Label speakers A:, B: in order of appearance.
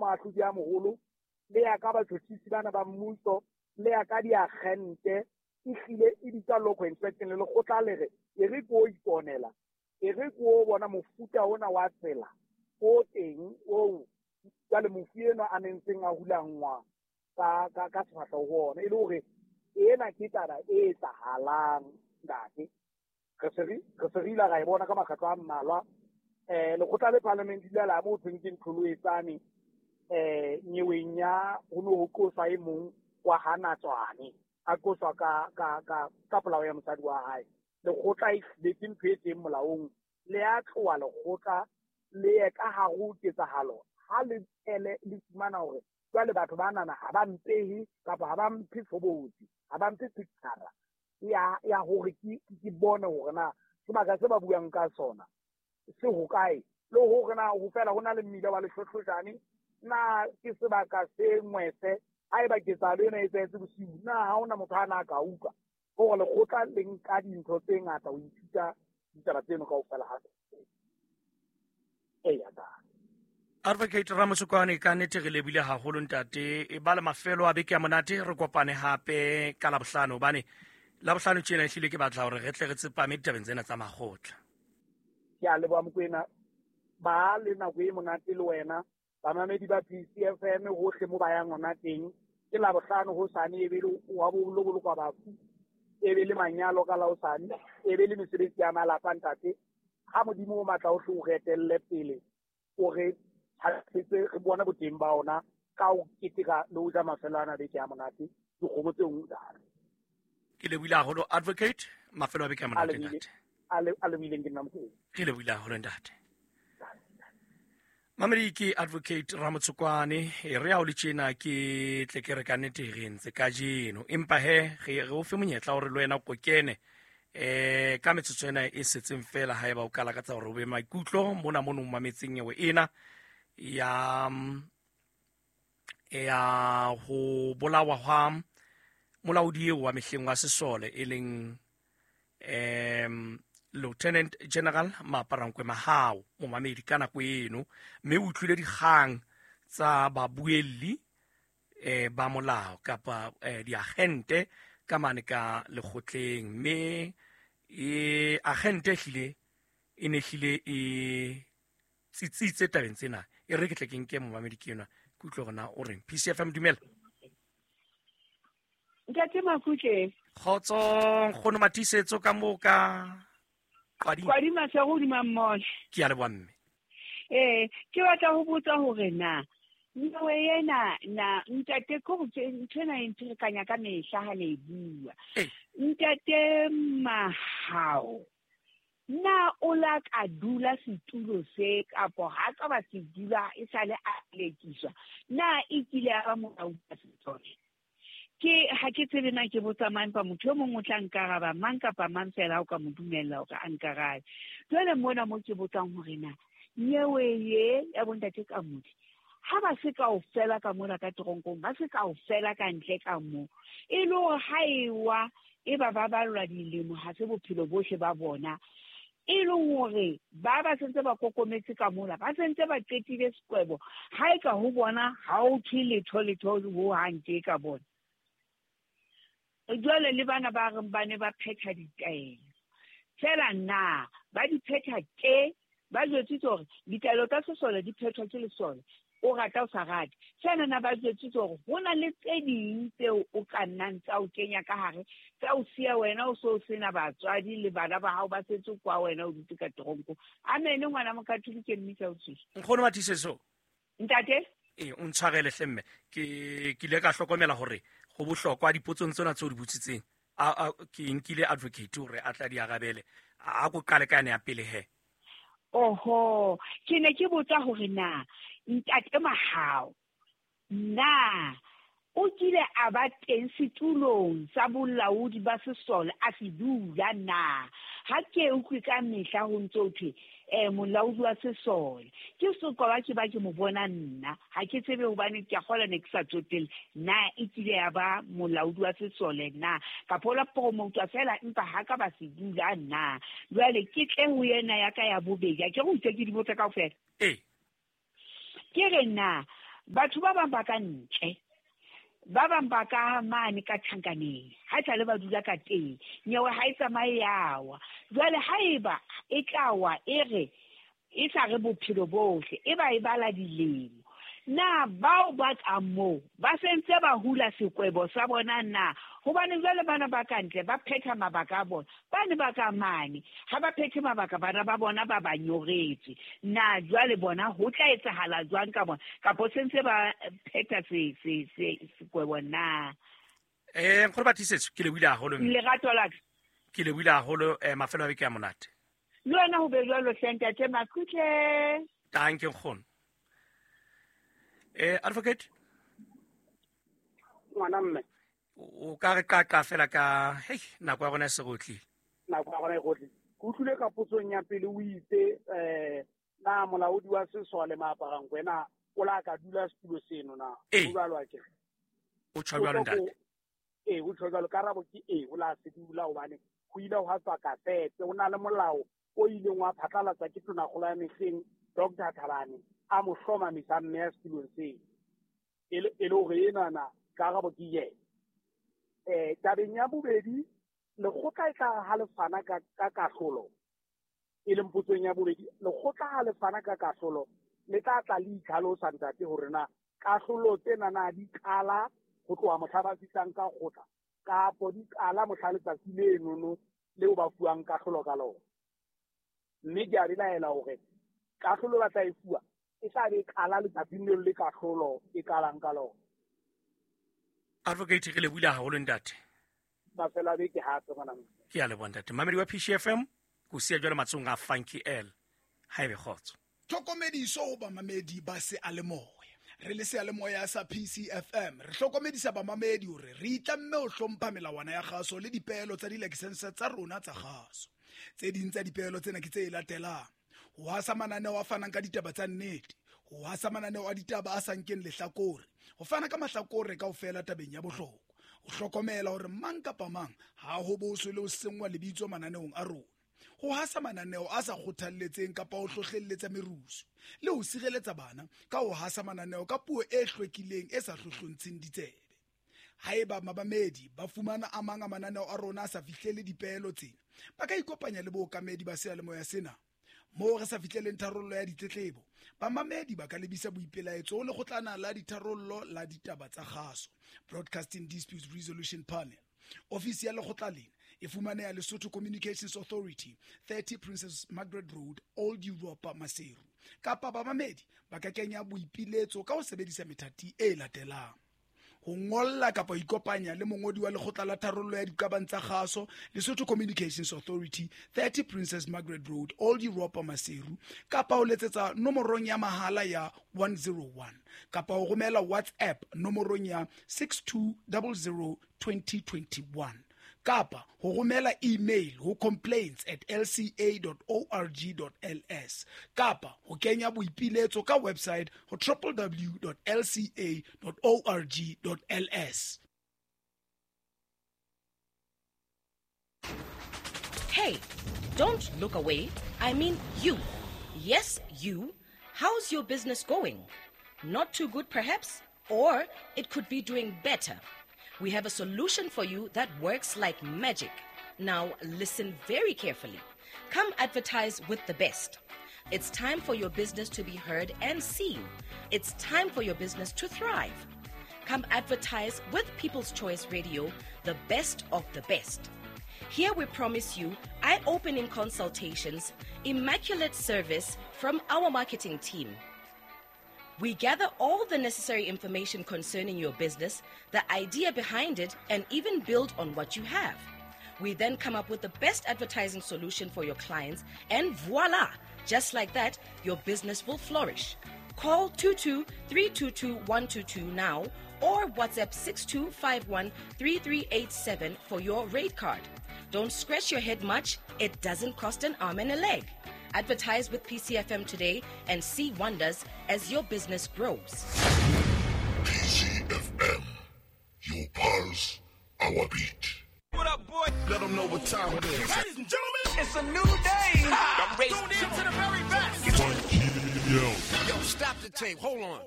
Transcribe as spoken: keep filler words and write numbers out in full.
A: moahlodi a moholo, le ya ka batjhotjhisi bana ba mmuso, le ya ka diagente, e hlile e bitsa local inspection. Le lekgotla le re e re ko iponela, e re ko bona mofuta ona wa tsela o teng oo jwale mofu enwa a nentseng a hulangwa ka ka ka sefahleho ho ona, e le hore ena ke taba e etsahalang ntate. Re se re re se re ile ra e bona ka makgetlo a mmalwa. Eh lekgotla le parliament ile la mo thweng ke Ntlholoetsane, eh nyeweng ya ho no ho qoswa e mong wa Hanatswane, a qoswa ka ka ka ka polao ya mosadi wa hae. Lekgotla e hlile ke ntho e teng molaong, le a tloha lekgotla le ye ka hare ho ketsahalo ha le ele le fumana hore jwale batho ba nana ha ba mpehe kapa ha ba mphe tshobotsi, ha ba mphe picture ya ya hore ke ke bone hore na sebaka se ba buang ka sona se hokae, le hore na ho fela ho na le mmila wa lehlohlojane, na ke sebaka se ngwese, haeba ketsahalo ena e etsahetse bosiu, na ha hona motho a na ka utlwa. Hore lekgotla le nka dintho tse ngata ho ithuta ditaba tseno kaofela ha eya ka.
B: Advocate Ramotsokwane, ka nnete re lebile haholo ntate. E ba le mafelo a beke ya monate, re kopane hape ka Labohlano, hobane Labohlano tjena ehlile ke batla hore re tle re tsepame ditabeng tsena tsa makgotla.
A: Ke a leboha Mokoena, ba le nako e monate le wena, bamamedi ba P C F M hohle mo ba yang hona teng. Ke Labohlano hosane e be le wa bo bolokwa bafu, e be le manyalo ka la hosane, e be le mesebetsi ya malapa ntate. Ha Modimo o matla o hle o re etelle pele, o re thabisetse, re bone boteng ba ona ka ho keteka le ho ja mafelo ana beke ya monate, dikgomo tse nngwe jalo.
B: Ke lebohile haholo Advocate, mafelo a beke ya monate ntate.
A: A le a lebohileng ke nna Mokoena.
B: Ke lebohile haholo ntate. Mamedi ke Advocate Ramotsokwane, e re ha o le tjena ke tle ke re ka nnete re entse kajeno, empa he re re o fe monyetla hore le wena o kene eh ka metsotso ena e setseng fela, haeba o ka lakatsa hore o be maikutlo mona mono mametseng nyewe ena ya ya ho bolawa hwa molaodi eo wa mehleng wa sesole e leng em Lieutenant General Maaparankoe Mahao, momamedi ka nako eno, mme o utlwile dikgang tsa babuelli eh ba molao kapa eh, diagente ka mane ka lekgotleng, mme e agente ehlile e ne hlile e tsitsitse tabeng tsena. E re ke tle ke nke momamedi ke enwa, ke utlwe hore na o reng. P C F M, dumela.
C: Ntate Makutle.
B: Kgotso nkgono Matiisetso ka moo ka Kwadima.
C: Kwadima se hodima mmoho.
B: Ke a leboha mme.
C: Eh, ke batla ho botsa hore na nyewe ena na ntate ko go ntho ena e ntsherekanya ka mehla ha le e bua. Ntate Mahao, na o la ka dula setulo se kapo ha ka ba se dula e sale a lekiswa, na e kile ya ba molaodi wa sesole? Ke ha ke tsebe na ke botsa mang, empa motho e mong o tla nkaraba mang kapa mang fela ha o ka mo dumella hore a nkarabe. Jwale mona mo ke botsang hore na nyewe ye ya bontate Kamodi, ha ba se kaofela ka mona ka teronkong, ba se kaofela ka ntle ka mo, e le hore ha e wa e ba ba ballwa dilemo, ha se bophelo bohle ba bona, e leng hore ba ba sentse ba kokometse ka mola, ba sentse ba qetile sekwebo, ha e ka ho bona ha o thwe letho letho ho hang tje ka bona. Jwale le bana ba reng ba ne ba phetha ditaelo, fela na ba di phetha tje, ba jwetsitse hore ditaelo tsa sesole di phethwa ke lesole, o rata o sa rate. Fela na ba jwetsitse hore ho na le tse ding tseo o ka nnang tsa o kenya ka hare, tsa o siya wena o so sena batswadi le bana ba hao ba setse kwa wena o dutse ka teronko. Amen, ngwana Mokatholike mmisa o tswile.
B: Nkgono Matiisetso.
C: Ntate?
B: Eh, o ntshwarele hle mme, ke ke ile ka hlokomela hore ho bohlokwa dipotsong tsena tseo di botsitseng, a ke nkile advocate hore a tla di arabele. A ko qale ka yane ya pele he.
C: Oho, ke ne ke botsa hore na ntate Mahao na o kile a ba teng setulong sa bolaodi ba sesole a se dula na? Ha ke utlwe ka mehla ho ntso thwe eh molaodi wa sesole, ke sokola ke ba ke mo bona nna, ha ke tsebe hobane ke a kgola ne ke sa tsotelle na e kile ya ba molaodi wa sesole na, kapa o la promotwa fela empa ha ka ba se dula na. Jwale ke tle ho yena ya ka ya bobedi, ha ke re utlwe ke di botsa kaofela.
B: Eh.
C: Ke re na Batho ba bang ba ka ntle, ba bang ba ka mane ka tjhankaneng, ha esale ba dula ka teng, nyewe ha e tsamaye ya wa. Jwale haeba e tla wa e re e sa re bophelo bohle, e ba e bala dilemo. Na bao ba ka moo ba sentse ba hula sekwebo sa bona na? Hobane jwale bana ba ka ntle ba phetha mabaka a bona, ba ne ba ka mane ha ba phethe mabaka, bana ba bona ba ba nyoretswe. Na jwale bona ho tla etsahala jwang ka bona, kapo sentse ba phetha se se se sekwebo na?
B: Eh nkgono ba Tiisetso, ke lebohile haholo.
C: Lerato la ka.
B: Ke lebohile haholo, eh mafelo a beke a monate.
C: Le wena ho be jwalo hle ntate Makutle.
B: Danke nkgono. Eh advocate
A: ngwana mme
B: o ka re qaqa fela ka hei nako ya rona e se rotlile.
A: Nako ya rona e rotlile. Ke utlwile ka potsong ya pele o itse eh na molaodi wa sesole Maaparankoe na o la ka dula setulo seno na?
B: Ee.
A: O jwalo akere?
B: O tjho jwalo ntate.
A: Ee, o tjho jwalo. Karabo ke ee, o la se dula hobane ho ile hwa tswa kasete. O na le molao o ileng wa phatlalatswa ke Tonakgolo ya mehleng Doctor Thabane a mo hlomamisa mme ya setulong seo. E le e le hore enana karabo ke yena. Eh tabeng ya bobedi, lekgotla e tla ha le fana ka ka kahlolo, e leng potsong ya bobedi, lekgotla ha le fana ka kahlolo le tla tla le itlhalosa ntate hore na kahlolo tsena na di qala ho tloha mohla ba fihlang ka kgotla kapo di qala mohla letsatsi lenono leo ba fuwang kahlolo ka lona. Mme ke a belaela hore kahlolo ba tla e fuwa e tla be e qala letsatsing leo le kahlolo e qalang ka lona.
B: Advocate, re lebohile haholo ntate.
A: Mafelo a beke hape ngwana mme.
B: Ke a leboha ntate. Mamedi wa P C F M, ko siya jwale matsohong a Funky L. Ha ebe kgotso.
D: Tlhokomediso ho bamamedi ba seyalemoya. Re le seyalemoya sa P C F M, re hlokomedisa bamamedi hore re itlamme ho hlompha melawana ya kgaso le dipeelo tsa dilakesense tsa rona tsa kgaso. Tse ding tsa dipeelo tsena ke tse latelang: ho hasa mananeo a fanang ka ditaba tsa nnete, ho hasa mananeo a ditaba a sa nkeng lehlakore, ho fana ka mahlakore kaofela tabeng ya bohlokwa, ho hlokomela hore mang kapa mang ha ho boswe le ho senngwa lebitso mananeong a rona, ho hasa mananeo a sa kgothalletseng kapa ho hlohlelletsa merusu, le ho sireletsa bana ka ho hasa mananeo ka puo e hlwekileng e sa hlohlontsheng ditsebe. Haeba mabamedi ba fumana a mang a mananeo a rona a sa fihlele dipeelo tsena, ba ka ikopanya le bookamedi ba seyalemoya sena. Moo re sa fihleleng tharollo ya ditletlebo, bamamedi ba ka lebisa boipelaetso ho lekgotlana la ditharollo la ditaba tsa kgaso, Broadcasting Disputes Resolution Panel. Ofisi ya lekgotla lena e fumaneha Lesotho Communications Authority, thirty Princess Margaret Road, Old Europa, Maseru. Kapa bamamedi ba ka kenya boipiletso ka ho sebedisa methati e latelang: ho ngolla kapa ho ikopanya le mongodi wa lekgotla la tharollo ya diqabang tsa kgaso, Lesotho Communications Authority, thirty Princess Margaret Road, Old Europa, Maseru, kapa ho letsetsa nomorong ya mahala ya one zero one, kapa ho romela WhatsApp nomorong ya six two zero zero twenty twenty-one, kapa ho romela email ho complaints at l c a dot org dot l s, kapa ho kenya boipiletso ka website ho w w w dot l c a dot org dot l s.
E: Hey, don't look away. I mean you. Yes, you. How's your business going? Not too good, perhaps? Or it could be doing better. We have a solution for you that works like magic. Now, listen very carefully. Come advertise with the best. It's time for your business to be heard and seen. It's time for your business to thrive. Come advertise with People's Choice Radio, the best of the best. Here we promise you eye-opening consultations, immaculate service from our marketing team. We gather all the necessary information concerning your business, the idea behind it, and even build on what you have. We then come up with the best advertising solution for your clients, and voila! Just like that, your business will flourish. Call two two three two two one two two now or WhatsApp six two five one three three eight seven for your rate card. Don't scratch your head much. It doesn't cost an arm and a leg. Advertise with P C F M today and see wonders as your business grows.
F: P C F M, your pulse, our beat.
G: What up, boy?
F: Let them know what time it is.
G: Ladies and gentlemen, it's a new day. Ha! Tune in to the very best.
F: Yo.
G: Yo, stop the tape. Hold on.